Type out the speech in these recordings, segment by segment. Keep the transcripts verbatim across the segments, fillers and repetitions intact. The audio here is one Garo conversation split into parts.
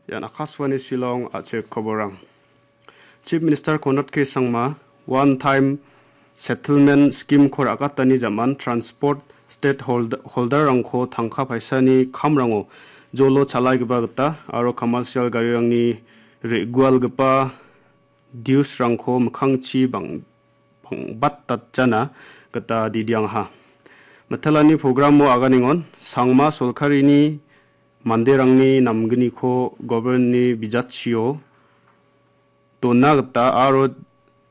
Ian Akashvani Shillong a·chik koborang. Chief Minister Conrad K Sangma one time settlement scheme-ko ra·gatani jam·an transport stakehold-, holder-rangko tangka paisani kamrango jolo chalaigipa gita aro commercial garirangni re·gualgipa dues-rangko mikkangchi bang-, bang·batatjana gita didiangaha. Mitelani programo aganengon Sangma Solkarini manderangni namgniko government-ni bijatchio dona gita aro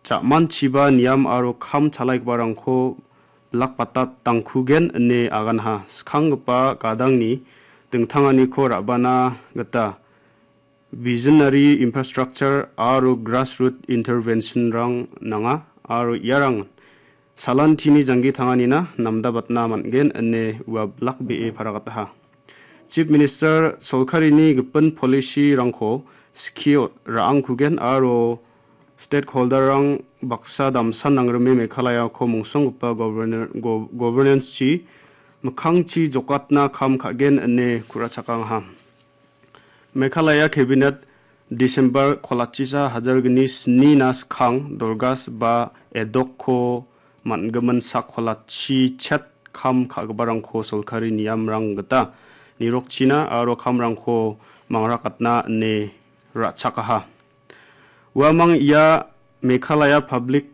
ja·manchiba niam aro kam chalaigiparangko bilakbatatangkugen ine aganha. Skanggipa gadangni dingtanganiko ra·bana gita visionary infrastructure aro grassroot intervention-rang nanga aro iarang salantini janggi tanganina namdabatna man·gen ine ua bilakbee paragataha. Chief Minister Solkarini gipin policy-rangko skie ra·angkugen aro stakeholder-rang baksa damsa nangrime Meghalayako mungsonggipa governor-, go-, governance-chi mikkangchi jokatna kam ka·gen ine ku·rachakangaha. Meghalaya Cabinet December kolachisa hajar gni snina skang Dorgas ba Edokko man·gimin sak kolachi chet kam ka·giparangko solkari niamrang gita nirokchina aro kamrangko mangrakatna ine ra·chakaha. Uamang ia Meghalaya Public